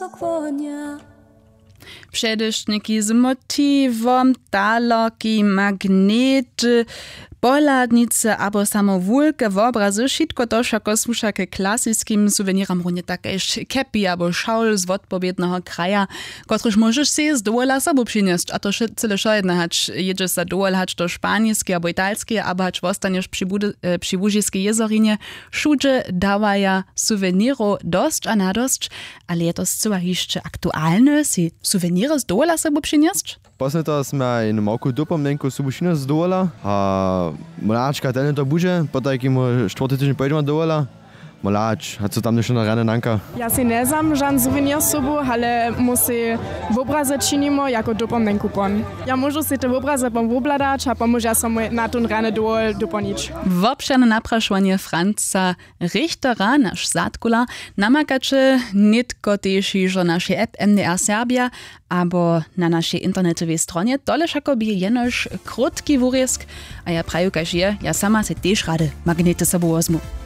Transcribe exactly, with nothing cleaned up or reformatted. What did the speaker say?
Tokłonja. Předewšitniki z motiwom, talerki, magnety, pohladnicy abo samo wulke wobrazy, wšitko to wšako słuša k klasiskim suweniram, runje tak kaž kepi abo šawl z wotpowědneho kraja, kotryž móžeš sej z dowola sobu přinjesć, a to wše- cyle wšojedne, hač jědźeš za dowol hač do Španiskej abo Italskej abo hač wostanješ při Budy- e, při Łužiskej jězorinje. Wšudźe dawaja suwenirow dosć a nadosć, ale je to scyła hišće aktualne, sej suweniry z dowola sobu přinjesć? Poslednje to smy jenu małku dopomnjenku sobu přinjesć z dowola a mlačka tene to budźe, potajkim štwórty tydźeń pojedźemy dowola. Mlač, a co tam něšto na rane nanka? Ja sej njezam žan suwenir sobu, ale mój sej wobrazy činimy jako dopomnjenku pon. Ja móžu sej te wobrazy pon wobhladać a pomóža so mój na tón rany dowol dopolnić. Wobšěrne naprašowanje Franca Richtera, naš zadkular, namakaće nětko tež hižo w našej app M D R Serbia abo na našej internetowej stronje. Tole wšako bě jenož krótki wurězk. A ja praju kaž je, ja sama sej tež rady magnety sobu wozmu.